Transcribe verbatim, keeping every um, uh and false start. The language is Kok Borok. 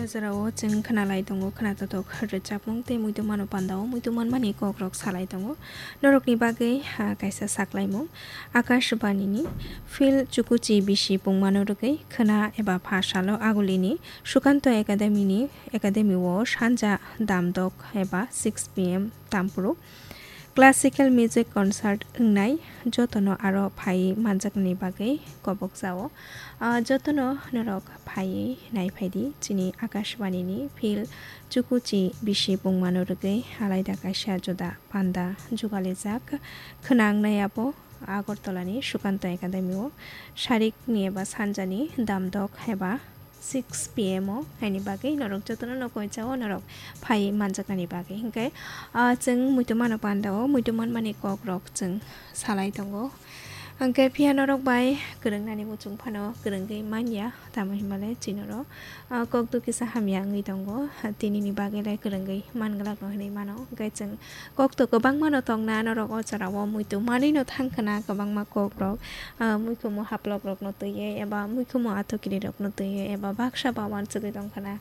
Jorao chwng khwnalai tongo khwnatotok rwchapmung tei muitu mano pandao muitu manmani kokrok salai tongo. Norokni bagwi, ah, kaisa saklaimung. Akashbanini Phil Chukuchi bisi pungmano rwgwi khwna eba pha salo Agulini Sukanto Academy ni, Academy o sanja damdok eba six P M tampuru classical music concert wngnai, jotono aro phaiwi manjaknani bagwi kobokjao. Ah, jotono norok phaiwi naiphaidi chini Akashbanini Phil Chukuchi bisi pungmano rwgwi alaida kaisa juda panda jugalijak khwna wngnai abo Agartala ni Sukanto Academy o sarikni eba sanjani damdok eba six P M o haini bagwi norok jotono no koichao norok phai manjaknani bagwi. Hinkhe, ah, chwng muitu mano pandao muitu manmani kokrok chwng salai tongo. Hinkhe phiya norok bai kwrwngnani muchung phano kwrwngwi manya, tamo hinmale chini oro, ah, kok dukisa hamya wngwi tongo. Tinini bagwi le kwrwngwi manglak no hinwi mano. Hinkhe chwng kok to kwbangma no tongna norok o jorao muitu manwi no thang khwna kwbangma kokrok, ah, muikhumu haplok rokno twiwi eba muikhumu athukiri rokno twiwi eba baksa ba uansugwi tong khwna.